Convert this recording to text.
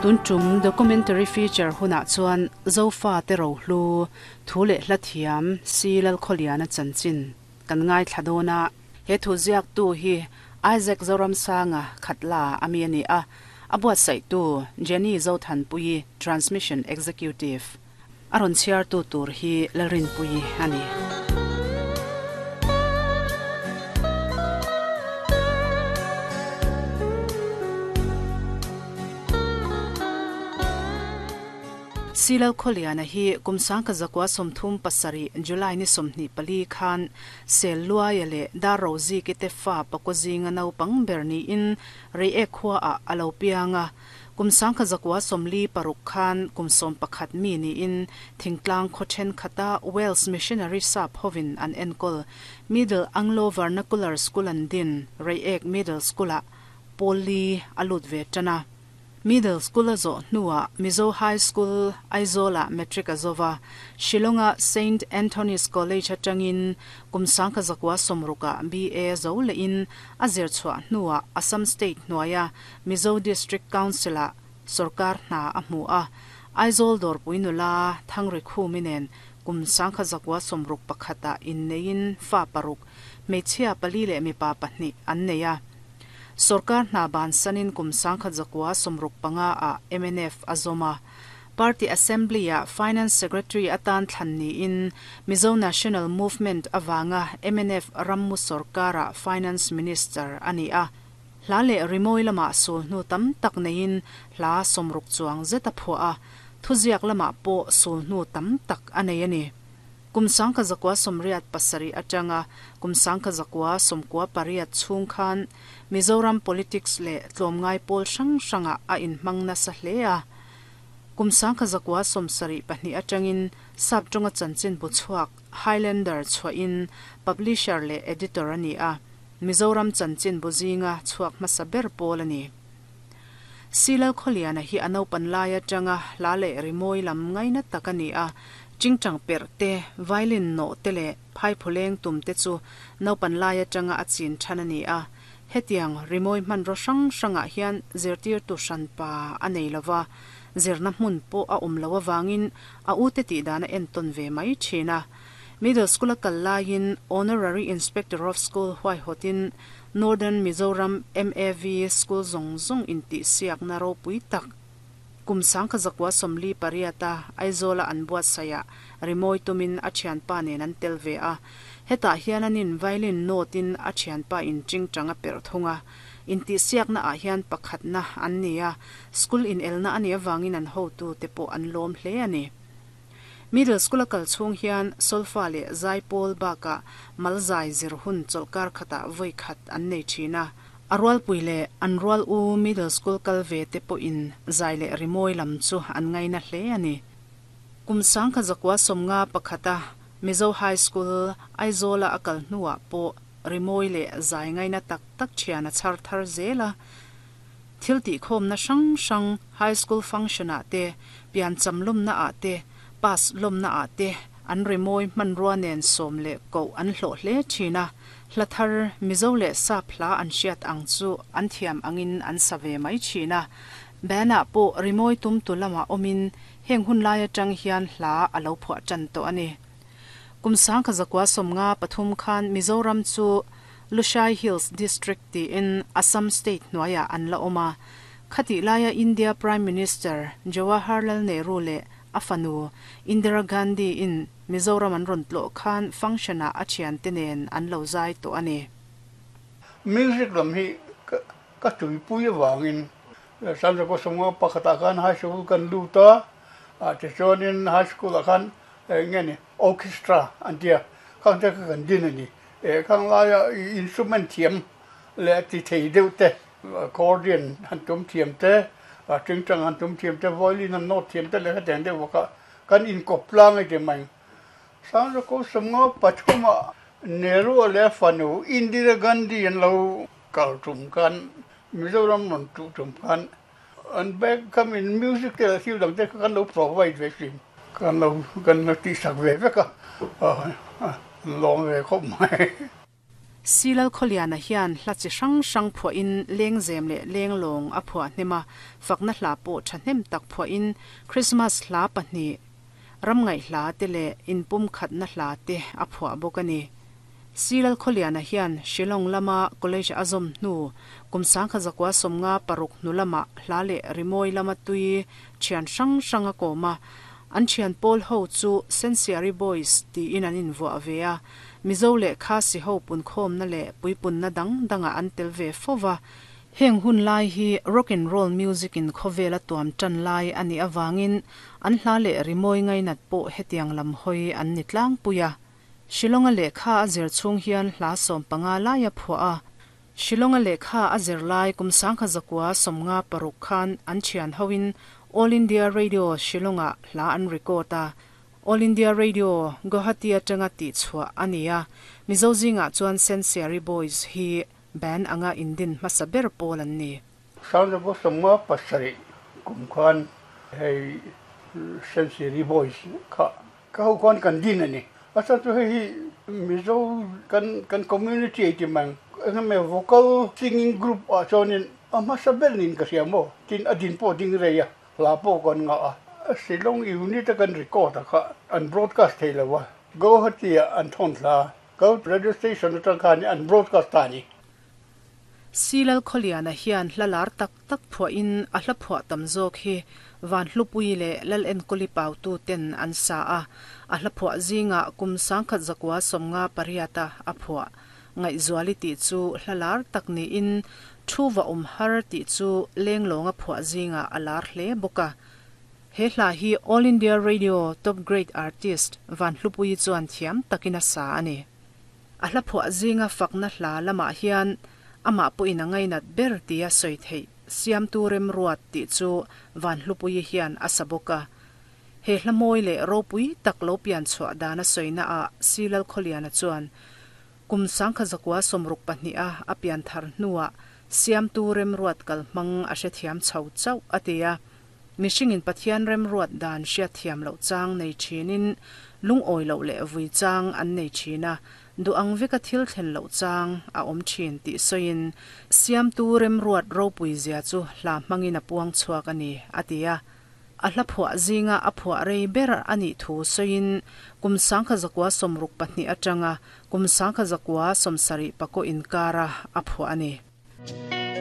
Tun tum documentary feature hunah chuan Zofa te rohlu thu leh hla thiam Si Lalkhawliana chanchin kan ngaithla dawn a. He thu ziaktu hi Isaac Zoramsanga Khatla a mi a ni a, a buatsaihtu Jenny Zothanpuii Transmission Executive. A rawn chhiartu tur hi Lalrinpuii a ni. Silal Khawliana hi kum 1937 July ni 24 khan Sel Luaia leh Dar Roziki te fa pakua zinga naupang ber niin Reiek khuaah a lo piang a. Kum 1946 khan kum 11 mi niin thingtlang khaw thenkhat-a Wales Missionary sap hovin an enkawl Middle Anglo Vernacular School an din Reiek Middle School-ah pawl li a lut ve tan a. Middle School a zawh hnuah Mizo High School, Aizawl-ah Matric a zo va, Shillong-a Saint Anthony's College atangin kum 1960-ah BA zo lehin a zir chhuah hnuah Assam State hnuaia Mizo District Council-ah sawrkar hna a hmu a. Aizawl dawrpui nula Thangri Khumi nen kum 1961-ah inneiin fa paruk, hmeichhia pali leh mipa pahnih an nei a. Sawrkar hna bansanin kum 1965 ah mnf a zawm a. Party Assembly-ah Finance Secretary atan thlan niin Mizo National Movement avanga mnf rammu sawrkarah Finance Minister a ni a. Hla leh rimawi lamah sul hnu tam tak neiin hla 60 chuang zet a phuah a, thuziak lamah pawh sul hnu tam tak a nei a ni. Kum 1987 atanga kum 1998 chhung khan Mizoram politics leh tlawmngai pawl hrang hrangah a inhmang nasa hle a. Kum 1972 atangin Saptawnga chanchin bu chhuak Highlander chhuahin publisher leh editor a ni a, Mizoram chanchin bu zinga chhuak hmasa ber pawl a ni. Silal Khawliana hi a naupan lai atanga hla leh rimawi lam ngaina tak a ni a, tingtang perh te, violin nawh te leh phaiphuleng tum te chu naupan lai atanga a chin than a ni a. Hetiang rimawi hmanraw hrang hrangah hian zirtirtu hranpa a nei lova, zirna hmun pawh a awm loh avangin a ute tihdan a entawn ve mai thin a. Middle School a kal laiin Honorary Inspector of School huaihawtin Northern Mizoram MAV School zawng zawng intihsiakna ropui tak kum 1948 a Aizawla an buatsaihah rimawi tumin a thianpa nen an tel ve a. Hetah hian anin violin note-in a thianpa in tingtang a perh thung a. Intihsiakna ah hian pakhatna an ni a, school inelna a nih avangin an hotute pawh an lawm hle a ni. Middle School a kal chhung hian solfa leh zaipawl bakah malzai zir hun chawlhkar khatah vawi khat an nei thin a. A rualpui leh an rual u Middle School kal ve te pawhin zai leh rimawi lam chu an ngaina hle a ni. Kum 1951 a Mizo High School, Aizawl-a a kal hnuah pawh rimawi leh zai ngaina tak tak thian a chhar thar zel a. Thil tihkhawmna hrang hrang High School function-ah te, piancham lawmnaah te, pass lawmnaah te an rimawi hmanrua nen sawm leh koh an hlawh hle thin a, hla thar Mizo leh Sap hla an hriat ang chu an thiam angin an sa ve mai thin a. Band-ah pawh rimawi tumtu lamah awmin heng hun lai atang hian hla a lo phuah tan tawh a ni. Kum 1953 khan Mizoram chu Lushai Hills District tiin Assam State hnuaiah an la awm a. Khatih laia India Prime Minister Jawaharlal Nehru leh a fanu Indira Gandhi-in Mizoram an rawn tlawh khan function-ah a thiante nen an lo zai tawh a ni. Music lam hi ka tuipui avangin San Francisco pakhatah khan high school kan lut a, tichuanin high school-ah khan eng nge ni orchestra an tia khang te kha kan din a ni. Khang laia instrument thiam leh ti thei deuh te, accordion han tum thiam te, tingtang han tum thiam te, violin han nawt thiam te leh hetiang deuh bawk a kan inkawp tlang a ti mai. Sangzakawp sawmnga pathumah Nehru leh fanu Indira Gandhi an lo kal tum khan Mizoram rawn tuh tum khan an bag kha min music te leh thil dang te kha kan lo provide ve thin. Kan lo kan lo tihsak ve vek a, an lawm ve khawp mai. C Lalkhawliana hian hla chi hrang hrang phuahin lengzem leh lenglawng a phuah hnem a, fakna hla pawh thahnem tak phuahin Krismas hla pahnih, ramngaih hla te leh inpumkhatna hla te a phuah bawk a ni. C Lalkhawliana hian Shillong lama college a zawm hnu kum 1956 hnu lamah hla leh rimawi lama tui thian hrang hrang a kawm a, An thian pawl ho chu Sensiari Boys tiin an invuah ve a, Mizo leh Khasi ho punkhawmna leh puipunna dang dangah an tel ve fo va. Heng hun lai hi rock and roll music in khawvel a tuam tan lai a nih avangin an hla leh rimawi ngainat pawh hetiang lam hawi an ni tlangpui a. Shillong-a lehkha a zir chhung hian hla 15 lai a phuah a. Shillong-a lehkha a zir lai kum 1956 khan an thian hoin All India Radio Shillong-ah hla an record a. All India Radio Guwahati atanga tihchhuah a ni a, Mizo zingah chuan Sensiari Boys hi band anga indin hmasa ber pawl an ni. 1957 kum khan hei Sensiari Boys kha Ka ho khan kan din a ni. A chhan chu hei hi Mizo kan kan community ei ti mang eng emaw vocal singing group ah chuanin a hmasa ber niin ka hria maw? Tin a din pawh ding rei a, hla pawh kan ngah a. Shillong unit a kan record a kha an broadcast thei lo a, Guwahati ah an thawn thla a, Go radio station atang khan an broadcast ta a ni. Silalkhawliana hian hla lar tak tak phuahin a hla phuah tam zawk hi Vanhlupui leh Lal Enkawli Pautu ten an sa a, a hla phuah zingah kum 1958 a a phuah. Ngaihzuali tih chu hla lar tak niin Thu va awm har tih chu Lenglawnga phuah zingah a lar hle bawk a. He hla hi All India Radio Top Grade Artist Vanhlupuii chuan thiam takin a sa a ni. A hla phuah zinga fakna hla lamah hian amah pawhin a ngainat ber tia sawi theih Siamtu Remruat tih chu Vanhlupuii hian a sa bawk a. He hla mawi leh ropui tak lo pian chhuah dan a sawina ah Si Lalkhawliana chuan kum 1962 a a pian thar hnuah Siamtu Remruat kalhmang a hrethiam chho chauh a ti a. Mihringin Pathian remruat dan hriatthiam loh chang nei thinin lungawi loh leh vui chang an nei thin a, duh ang veka thil thlen loh chang a awm thin tih sawiin Siamtu remruat ropui zia chu hla hmangin a puang chhuak a ni, a ti a. A hla phuah zinga a phuah rei ber a nih thu sawiin kum 1962 atanga kum 1974 inkara a phuah a ni.